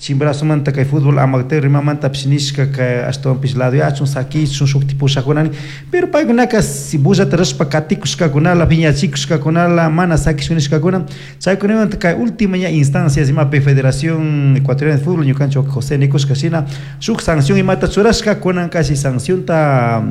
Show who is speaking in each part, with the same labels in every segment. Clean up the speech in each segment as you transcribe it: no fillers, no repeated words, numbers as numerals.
Speaker 1: Chimborazomanta kay fútbol amateur imamantapish nishka kay ashtawanpish ladoyachun sakichun shukti pushakunani, pero paykunaka si bullata rurashpa katikushkakunala, piñachikushkakunala, mana sakishun nishkakuna. Chaykunamanta kay última ña instancias imapi Federación Ecuatoriana de Fútbol ñukanchik José nikushka shina shuk sanción imata churashka, kunan casi sancionta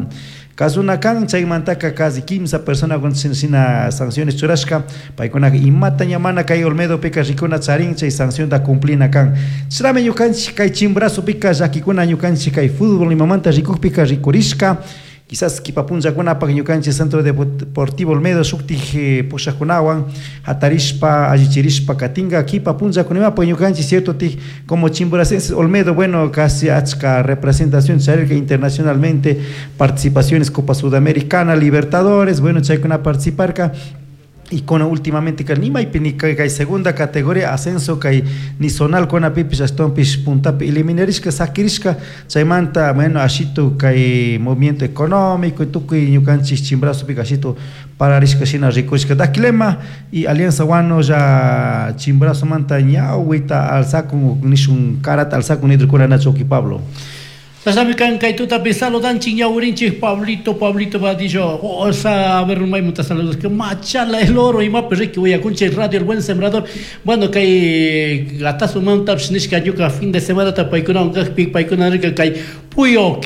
Speaker 1: kasuna kan. Chaymantaka casi 3 personakuna shina sanciones churashka, paykunaka imata ña mana kay Olmedopika rikuna charin, chay sancionta cumplina kan. Chashnami ñukanchik kay Chimborazopika llakikuna ñukanchik kay fútbol imamanta rikukpika rikurishka. Quizás kipa punllakunapak ñukanchik Centro Deportivo Olmedo shuktik pushakunawan hatarishpa allichirishpa katinka kipa punllakunapak ñukanchik cierto tik como chimboracenses Olmedo, bueno, casi achka representación charirka internacionalmente, participaciones Copa Sudamericana, Libertadores, bueno, chaykuna participarka. Y con últimamente que ni maypi ni kay segunda categoría ascenso kay ni zonal kunapipish ashtawanpish puntapi eliminarishka sakirishka. Chaymanta, bueno, ashitu kay movimiento económico y tukuy ñukanchik Chimborazopika ashitu pararishka shina rikushka. Daquilema y Alianza Guano ya Chimborazomanta ñawita alzakun nishun karata alzakun nidrukuna Nacho Uki Pablo.
Speaker 2: Chashnami kan kay tutapi saludanchik ñawirinchik Pablito, Pablito Vadillo, osa, a ver, maymunta saludos, que Machala el Oro, imapi riki uyakunchik Radio El Buen Sembrador. Bueno, kay gatazo mantapish nishka ñuka fin de semana ta paykunawan kajpi, paykuna nirka kay Puyo,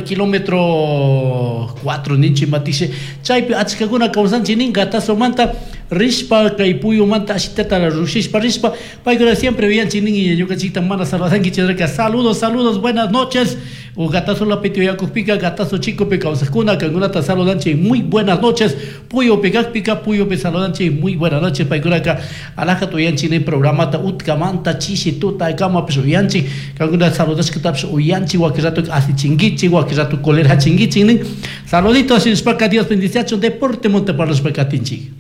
Speaker 2: kilómetro 4 ninchi matishe, chaypi achkakuna kawsanchik nin Gatazomanta rishpa kay Puyumanta ashitata rushishpa rishpa paykuna siempre uyanchik nin ñukanchikta mana saludankichik nirka. Saludos, saludos, buenas noches. O Gatazo lapiti uyakukpika, Gatazo chicopi kawsakuna kankunata saludanchik, muy buenas noches. Puyupi kakpika, Puyupi saludanchik, muy buenas noches. Paykunaka alajata uyanchik nin programata utkamanta chishi tuta kamapish uyanchik, kankuna saludashkatapish uyanchik, wakin rato asichinkichik, wakin rato colerachinkichik nin. Saluditos nishpaka Dios bendiciachun, deporte monte parlashpa katinchik.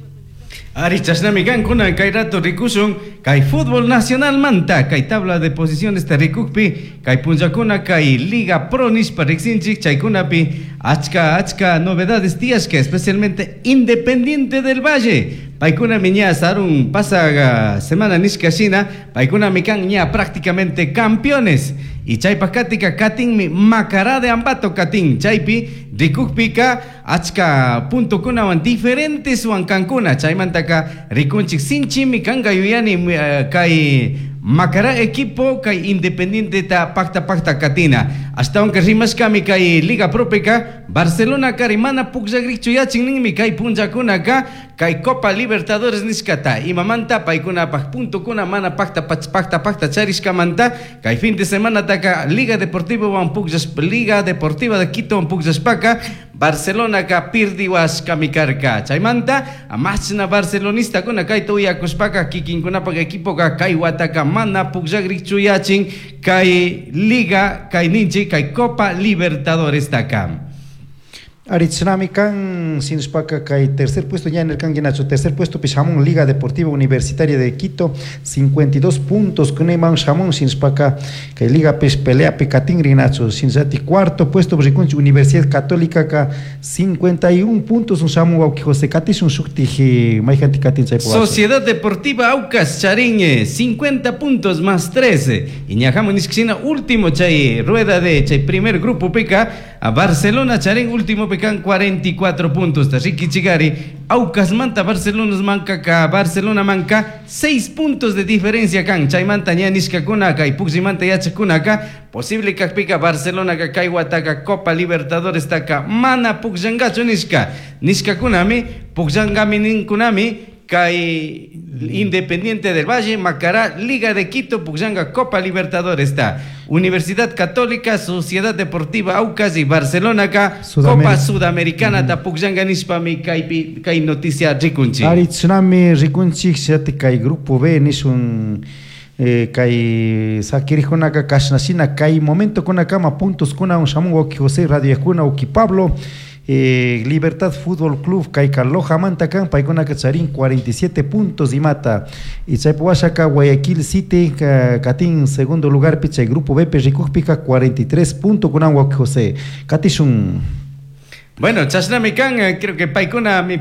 Speaker 3: Ari chashnami kankuna kay rato rikushun kay fútbol nacional manta kay tabla de posiciones ta rikukpi kay punllakuna kay Liga Pro nishpa riksinchik, chaykunapi achka achka novedades tiyashka, especialmente Independiente del Valle. Paykunami ña sarun pasaga semana nishka shina, paykunami kan ña prácticamente campeones. Y chaypa katika katinmi Macará de Ambato katin, chaypi rikukpika achka puntokunawan diferentes huankankuna, chaymantaka rikunchik sinchimi kanka yuyani kay Macará equipo kay Independiente ta pacta pacta katina. Ashtawanka rimashkami kay Liga Propeka Barcelona kari mana pukllakrichu yachin ninmi kay punllakunaka kay Copa Libertadores nishkata imamanta paykunapaj puntokuna mana pacta pacta pacta charishkamanta kay fin de semana taka Liga Deportiva wan pukllash Liga Deportiva de Quito wan pukllashpaka Barcelona ka pirdiwashkami karka. Chaymanta machna barcelonista kuna kayta uyakushpaka kikinkunapaj equipo ka kay wataka mana pukllakrichu yachin kay Liga kay ninchi kay Copa Libertadores taka.
Speaker 1: Aritznami kan sinspaka kay tercer puesto ya en el kanguinacho, tercer puesto pishamón Liga Deportiva Universitaria de Quito 52 puntos kuneman shamón sinspaka kay Liga pes pelea pecatín rinacho sinsati cuarto puesto rikunchi Universidad Católica ka 51 puntos un shamu wauki José Katis un shukti mayjanti katin chay poacho.
Speaker 3: Sociedad Deportiva Aucas Chariñe 50 puntos más 13 y ñajamo nishkina último chay rueda de chay primer grupo pica a Barcelona Charín último pica 44 puntos. Ricky Chigari, Aucas manta Barcelona manca ka Barcelona manca 6 puntos de diferencia kan chaymanta ña nishkakuna ka y puximanta yachakuna ka posible kakpika Barcelona ka kay wataka Copa Libertadores taka mana puxangachu nishka nishkakunami puxangami ninkunami kay Independiente del Valle, Macará, Liga de Quito, Puxanga, Copa Libertadores está Universidad Católica, Sociedad Deportiva Aucas y Barcelona ka Copa Sudamericana ta Puxanga nishpami kaypi kay noticia rikunchi.
Speaker 1: Ari tsunami rikunchi xati kay grupo B nishun kay sakirijkunaka kashnashina kay momento kunakama puntos kuna un shamun wauki José Radio kuna wauki Pablo. Libertad Fútbol Club kay Loja manta kan paykunaka charin 47 puntos y mata y chaypuwashaka Guayaquil City katin segundo lugar pichay grupo B rikukpika 43 puntos kunan wauki José katishun.
Speaker 3: Bueno, chashnami kan, creo que paykuna mi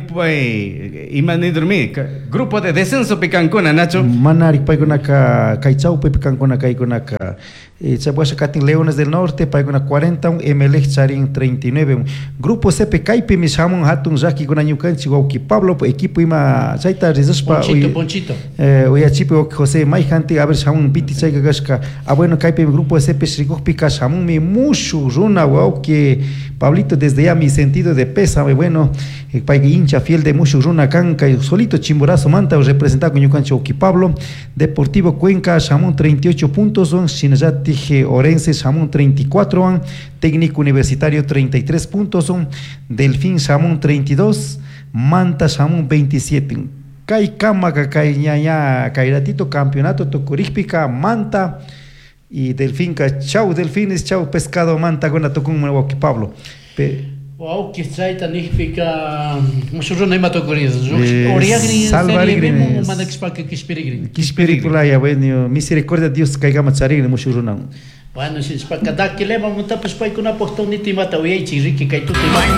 Speaker 3: ima nidurmi, grupo de descenso pi kankuna, Nacho.
Speaker 1: Manari paykunaka kay chawpipi kankuna kaykunaka chay washa katin Leones del Norte paykuna 40 Emelec charin 39. Grupo C pi kaypimi shamun hatun llakikuna ñukanchik wawki Pablo equipo ima chayta rizashpa
Speaker 2: Ponchito, Ponchito.
Speaker 1: Uyachipi wawki José mayjanti a ver shamun piti chayka kashka. Ah bueno, kaypimi grupo C pi rikukpika shamunmi mushuk runa wawki Pablito, desde ya mi sentido de pésame. Bueno, payka hincha fiel de mushuk runa kan kay solito Chimborazo manta representado ñukanchik wawki Pablo. Deportivo Cuenca shamun 38 puntos, shinallatik Orense shamun 34 wan, Técnico Universitario 33 puntos, Delfín shamun 32, Manta shamun 27. Kay kamaka kay ña kay ratito campeonato tukurikpika Manta y Delfinka chau Delfines, chau pescado Manta kuna tukunman wawki Pablo.
Speaker 2: Wawki chayta nijpika mushuk runa ima tukurin Oriagrin
Speaker 1: salvarigrin
Speaker 2: mana kishpaka kishpirigrin.
Speaker 1: Kishpirikulaya, bueno, misericordia Dios kaykama charigrin mushuk runa.
Speaker 2: Bueno, shishpaka dakilema muntapish paykunapuk tunita imata uyaychik riki kay tuta imata.